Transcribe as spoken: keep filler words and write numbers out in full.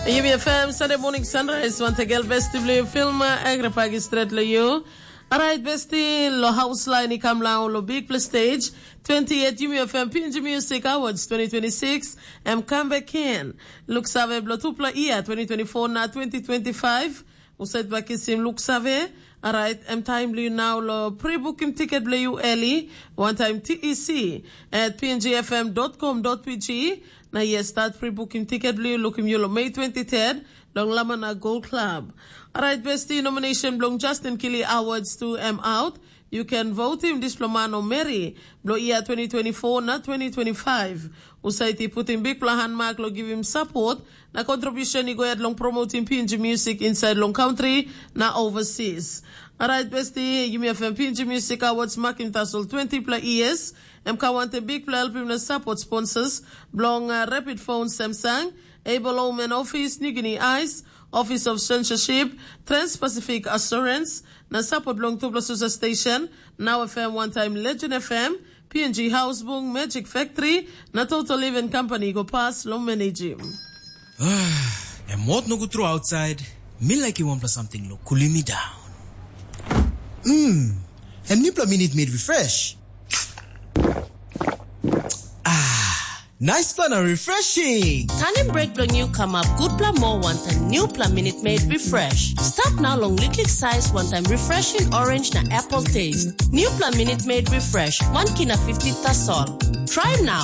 Yumi F M Sunday Morning Sunrise, wantegel besti bilong yu, Filma Agripagi stret lo yu. Alright, besti, lo house line i kam lau lo big play stage, twenty-eight Yumi F M P N G Music Awards twenty twenty-six, em comeback in. Look save blo tupla ia, twenty twenty-four na twenty twenty-five, uset bakisim look save. Alright, em time blo yu now lo pre-booking ticket blo yu early, one time T E C at P N G F M dot com dot P G. Na yes, start pre-booking ticket blo yu, looking you lo May twenty-third, long Lamana Gold Club. Alright, besti, nomination belong Justin Kili Awards to M out. You can vote him diploma no Mary, blo ia twenty twenty-four na twenty twenty-five. Usaiti put him big plan mark lo give him support, na contribution i go ahead long promoting P N G music inside long country na overseas. Alright, besti, Yumi F M P N G Music Awards marking tassel twenty plus years. Em ka wantaim bikpela helpim na sapot sponsors bilong uh, Rapid Phone Samsung, Able Home and Office, New Guinea Ice, Office of Censorship, Trans-Pacific Assurance, na sapot bilong tupela susa station, Now F M, one time Legend F M, P N G Housebung, Magic Factory, na Total Living Company go pas long managim. Em hot nogut tru outside. Mi laikim wanpela samting lo kulim mi down. Mm, em nipela minit made refresh. Ah, nice plan and refreshing. Tanim break bilong yu kamap gutpela moa wantaim newpela minit made refresh. Stap nau long liklik size wantaim refreshing orange na apple taste. Newpela minit made refresh, one kina fifty tasol. Try now.